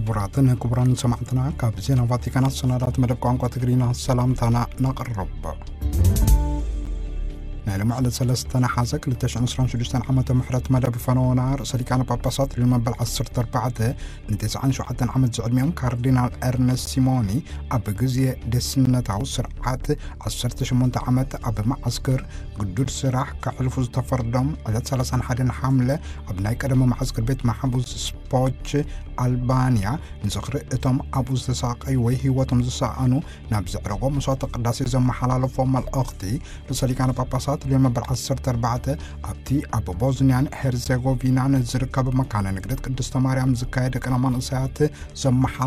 ክቡራትን ክቡራን ሰማዕትና፣ ካብ ዜና ቫቲካን ኣሰናዳት መደብ ቋንቋ ትግርኛ ሰላምታና ነቕርብ። ናይ ሎሚ ዕለት ሰለስተ ነሓሰ ክልተ ሽሕን ዕስራን ሽዱሽተን ዓመተ ምሕረት መደብ ፈነወና ርእሰ ሊቃነ ጳጳሳት ልዮን መበል ዓሰርተ ኣርባዕተ ንተስዓን ሸውዓተን ዓመት ዝዕድሚኦም ካርዲናል ኤርነስት ሲሞኒ ኣብ ግዜ ደስነታዊ ስርዓት ዓሰርተ ሸሞንተ ዓመት ኣብ መዓስከር ግዱድ ስራሕ ከሕልፉ ዝተፈርዶም ዕለት ሰላሳን ሓደን ሓምለ ኣብ ናይ ቀደሞ መዓስከር ቤት ማሕቡስ ስፖች ኣልባንያ ንዝኽሪ እቶም ኣብኡ ዝተሳቐዩ ወይ ህይወቶም ዝሰኣኑ ናብ ዘዕረጎ መስዋዕተ ቅዳሴ ዘመሓላለፎ መልእኽቲ ርእሰ ሊቃነ ጳጳሳት ልዮን መበል ዓሰርተ ኣርባዕተ ኣብቲ ኣብ ቦዝንያን ሄርዜጎቪናን ዝርከብ መካነ ንግደት ቅድስተ ማርያም ዝካየደ ቅነ መንእሰያት ዘመሓላ